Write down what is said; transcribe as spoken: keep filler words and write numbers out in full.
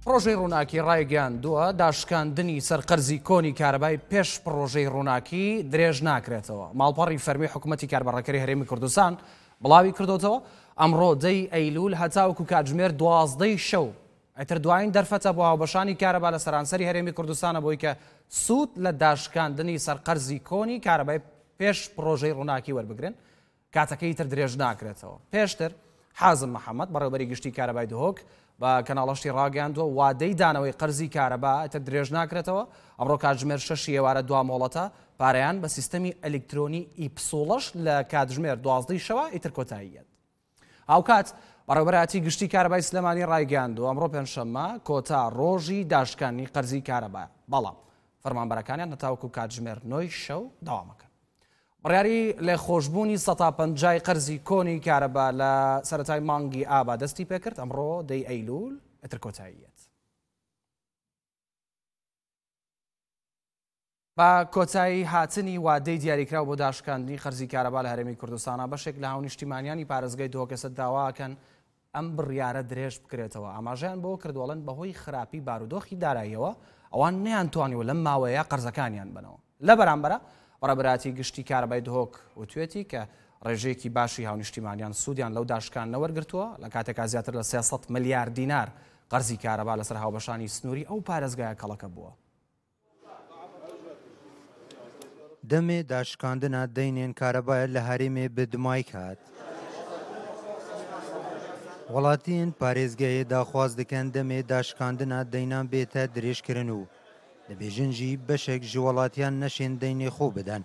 پڕۆژەی ڕووناکی ڕایگەیاندووە، داشکاندنی سەرقەرزی کۆنی کارەبای پێش پڕۆژەی ڕووناکی درێژ ناکرێتەوە. ماڵپەڕی فەرمی حکوومەتی کاربەڕێکەری هەرێمی کوردستان بڵاوی کردوتەوە، ئەمڕۆ دەی ئەیلول هەتاوەکو کاتژمێر دوازدەی شەو ئیتر دوایین دەرفەتە بۆ هاوبەشانی کارەبا لە سەرانسەری هەرێمی کوردستانە بۆی کە سوود لە داشکاندنی سەرقەرزی کۆنی کارەبای پێش پڕۆژەی ڕووناکی وەربگرن، کاتەکەی تر درێژ ناکرێتەوە. پێشتر حازم محەممەد، بەڕێوەبەری گشتی کارەبای دهۆک، بە کەناڵەشتی ڕاگەیاندووە، وادەی دانەوەی قەرزی کارەبا ئیتر درێژ ناکرێتەوە. ئەمڕۆ کاتژمێر شەشی ئێوارە دوا مۆڵەتە پارەیان بە سیستەمی ئەلیکترۆنی ئی پسوڵەش لە کاتژمێر دوازدەی شەوە ئیتر کۆتایی یەت. هاوکات بەڕێوەبەرایەتی گشتی کارەبای سلێمانی ڕایگەیاندووە، ئەمڕۆ پێنجشەممە کۆتا ڕۆژی داشکانی قەرزی کارەبا، بەڵام فەرمانبەرەکانیان هەتاوەکو کاتژمێر نۆی شەو داوامەکەن. بڕیاری لێخۆشبوونی سەتا پەنجای قەرزی کۆنی کارەبا لە سەرەتای مانگی ئابا دەستی پێکرد، ئەمڕۆ دەی ئەیلول ئیتر کۆتاییەت. بە کۆتایی هاتنی وادەی دیاریکراو بۆ داشکاندنی قەرزی کارەبا لە هەرێمی کوردستانە، بەشێک لە هاونیشتیمانیانی پارێزگای دهۆکەسە داواکەن ئەم بڕیارە درێژ بکرێتەوە. ئاماژەیان بۆ کردووەڵێن بەهۆی خراپی بارودۆخی داراییەوە ئەوان نەیانتوانیوە لەم ماوەیە قەرزەکانیان بنەوە. لە بەرامبەرە، بەڕێبەراتی گشتی کارەبای دهۆک وتوێتی کە ڕێژەیەکی باشی هاونیشتیمانیان سوودیان لەو داشکان نەوەرگرتووە، لە کاتێکا زیاتر لە سێسەد ملیار دینار قەرزی کارەبا لەسەر هاوبەشانی سنووری ئەو پارێزگایە کەڵەکە بووە. دەمێ داشکاندنا دەینێن کارەبایە لە هەرێمێ بدمایک هات. وڵاتیین پارێزگەیە داخواز دکەن دەمێ داشکاندنا دەینان بێتە درێژکردن و دەبێژن ژی بەشێک ژی وڵاتیان نەشێن دەینێ خۆ بدەن.